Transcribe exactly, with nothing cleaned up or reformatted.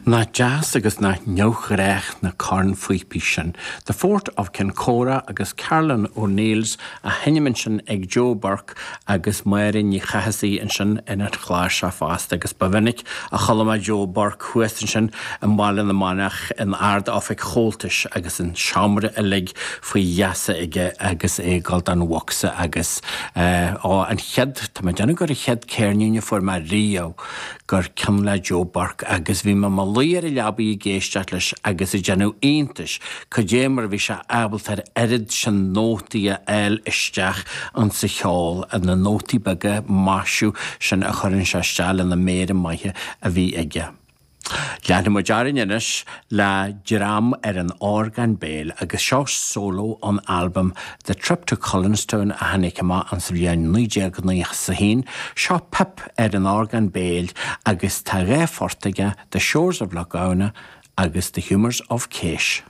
Nach deas agus nach neamhghnách na cornphíopaí sin. The Fort of Kincora agus Carolan O'Neills á sheinm ansin ag Joe Burke agus Máire Ní Chathasaigh ansin ar an chláirseach fosta agus ba mhinic a chuala mé Joe Burke thuas ansin i mBaile na Manach in Ard-Oifig Chomhaltais agus an seomra uilig faoi gheasa aige agus é ag dul don bhocsa agus eh, ó an chéad tá mé ag déanamh gur an chéad ceirnín a fuair mé riamh gur ceann le Joe Burke agus bhí mé i mo luí ar an leabaidh ag éisteacht leis agus ag déanamh iontais cad é mar bhí sé ábalta an oiread sin nótaí a fháil isteach an sa cheol na nótaí beaga maisiú sin a chuireann sé isteach lena méara maithe a bhí aige. Leanfaidh muid orainn anois le dream ar an orgán béil agus seo solo ón albam The Trip to Cullenstown a tháinig amach an sa bhliain naoi déag nócha a haon, seo Pip ar an orgán béil agus tá dhá phort aige The Shores of Lough Gowna agus The Humours of Kesh.